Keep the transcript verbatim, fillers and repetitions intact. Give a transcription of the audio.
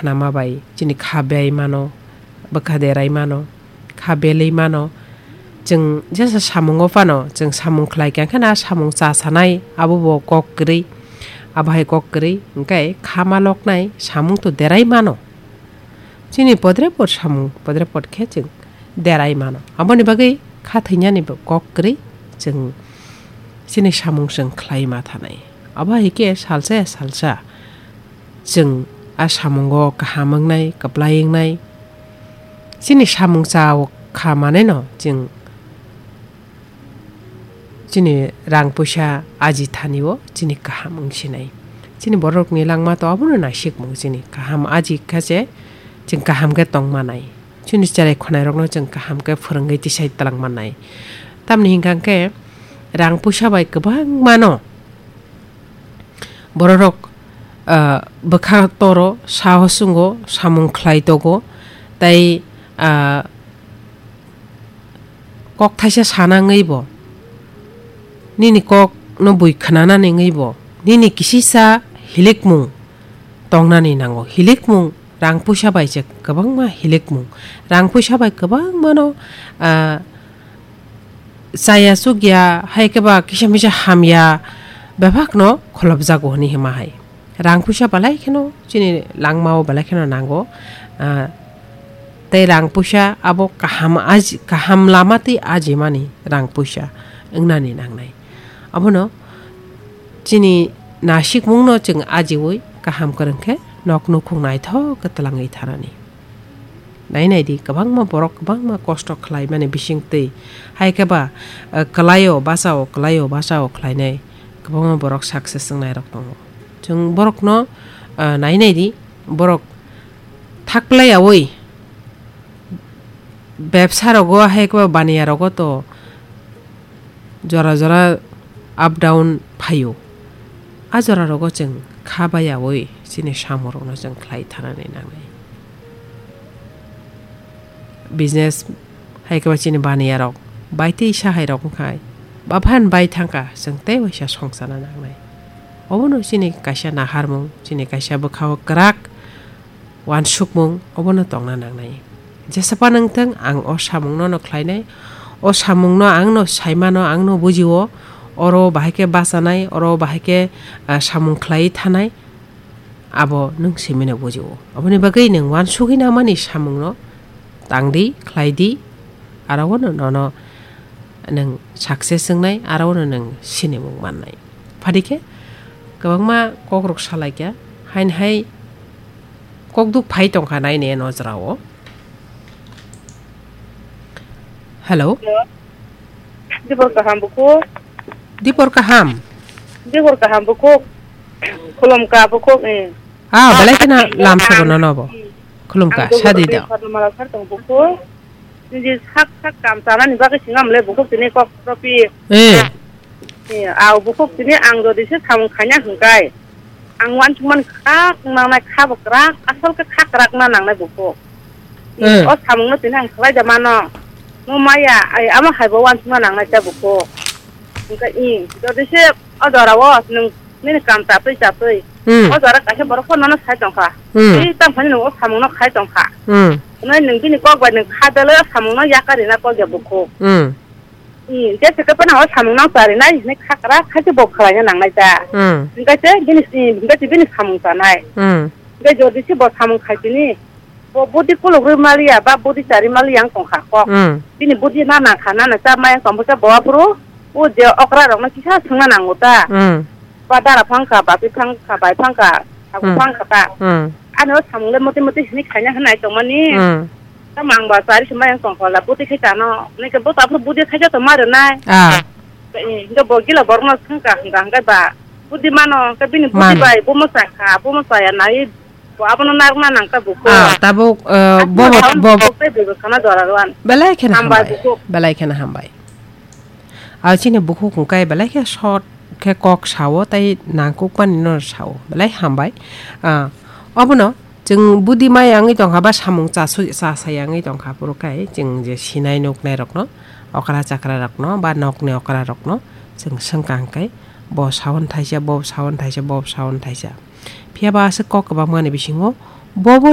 nama bai chini kha bai mano, bwkha derai mano, kha belwi mano. Chwng jesa samungo phano chwng samung khlai kha khe na samung cha sanai abo bo kok kwrwi, abo hai kok kwrwi hwnkhe kha ma loknai samung to derai mano. Chini podre pod samung, podre pod khe chwng derai mano. Aboni bagwi kha thwinani bo kok kwrwi chwng chini samung chwng khlai ma thanai. Abo hai khe salsa ya salsa chwng a samungo kaham wngnai, kwplai wngnai. Chini samung cha o kha manai no chwng chini rang puisa aji thani o chini kaham wng sinai. Chini borok ni langma to abono naisik mung chini kaham aji kha se chwng kaham khe tong manai. Chini cherai khonai rokno chwng kaham khe phwrwngwi tisai tlang manai. Tamni hwnkha khe rang puisa bai kwbangma no bororok, ah, bwkha toro, saho chwngo, samung khlai togo, tei, ah, kok thaisa sana wngwi bo, nini kok no bui khwnanani wngwi bo, nini kisisa hilikmung tongnani nango. Hilikmung rang puisa bai se kwbangma hilikmung. Rang puisa bai kwbangmano, ah, chaya chukya, hai khe ba kisa misa hamya bebakno kholopjago hwnwi hima hai. Rang puisa belai kheno chini langmao belai kheno nango. Ah, tei rang puisa abo kaham aji-, kaham lama twi ajimani rang puisa wngnani nangnai. Abono chini nasikmungno chwng ajiwi kaham kwrwng khe nok nukhung naithok khe twlangwi thanani. Nai nai di, kwbangma borok kwbangma kosto khlaimani bising twi. Hai khe ba, eh, kwlaio, bachao, kwlaio, bachao khlainai kwbangma borok success wngnai rok tongo. Chwng borokno, eh, nai nai di, borok thak plai yaui bebsa rogo hai khe ba baniya rogo to jora jora up down phaio. A jora rogo chwng kha bai yaui chini samung rokno chwng khlai thanani nangnai. Business hai khe ba chini baniya rok bai twi sa hai rok wngkhai ba phan bai thangkha chwng tei waisa songchana nangnai. Obono chini kaisa naharmung, chini kaisa bwkhao kwrak uansukmung obono tongna nangnai. Jesa phano wngthung, ang o samungno no khlainai, o samungno ang no saimano, ang no bujio, oro bahai khe bachanai, oro bahai khe, ah, samung khlaiwi thanai, abo nwng simino bujio. Aboni bagwi nwng uansugwi nangmani samungno tangdi, khlaidi, aro no nono nwng success wngnai, aro no nwng sinimung mannai. Phadi khe kwbangma kokrok salaikha, haini hai kokduk phai tongkha naini eno jora o. Hello. Hello. Dipor kaham bukhuk. Dipor kaham. Dipor kaham bukhuk. Khulumkha bukhuk, eh. Ah, belai kheno lam sobo nono bo. Khulumkha, sadi da. Mala sar tong bukhuk. Niji sak sak kam chanani bagwi singam le bukhuk tini kok ropi. Eh. Eh, aw bukhuk tini ang jodi se samung khaina hwnkhe. Ang uansukmani kha, nangnai kha bo kwrak, asol khe kha kwrak na nangnai bukhuk. Eh. O samungno tini ang khlai da mano. Mo maya, ai, amo hai bo uansukna nangnai ta bukhuk. Hwnkhe i, jodi se o jora o nwng nini kam chatwi chatwi. Hmm. O jora kaisa borok phano nono sai tongkha. Hmm. Tei tamo phano nwng o samungno khai tongkha. Hmm. Hwnwi nwng bini kok bai nwng kha belai o samungno yakarina kok ya bukhuk. Hmm. I, jesa khe phano o samung nang charinai hinwi kha kwrak khaise bo khlaina nangnai ta. Hmm. Hwnkhe se bini, i, hwnkhe se bini samung chanai. Hmm. Hwnkhe jodi se bo samung khaisini, bo budi kulukrwi maliya ba budi chari maliya wng tongkha kok. Hmm. Bini budi na nangkha, nana cha maya tongkha bo aphuru, o je okra rokno kisa swngna nango ta. Hmm. Ba dara phangkha, ba pi phangkha, bai phangkha, sago Hmm. phangkha ta. Hmm. Ani o samung le moti moti hinwi khaina hinai tongmani. Hmm. Tamo ang ba chari se maya tongkha la, budi khai chano. Nike bo ta aphuru budi khai ja tongma rwnai. Ah. Eh, hingke bo gila borokno swngkha hwnkha hwnkhe ba budi mano, hwnkhe bini budi Mano. bai bo mwchakha, bo mwchaya nai bo abono narwkna nangkha bukhuk. Ah, tabuk, eh, Aswk bo, bo, sawan bo, bo. Bukhuk tei bwswkano jora rwani. Belai kheno Hambai hambai. Bukhuk. Belai kheno hambai. Ah, chini bukhuk hwnkhe belai khe short khe kok sao tei nangkukmani no sao. Belai hambai. Ah, obono Chwng budi mai wngwi tongkha ba samung chasu-, chasai wngwi tongkha, phuru khe chwng je sinai nuknai rokno, okra chakra rokno ba nokni okra rokno chwng swngkha hwnkhe, bo sawan thaisa, bo sawan thaisa, bo sawan thaisa. Phiya ba aswk kok kwbangmani bisingo bobo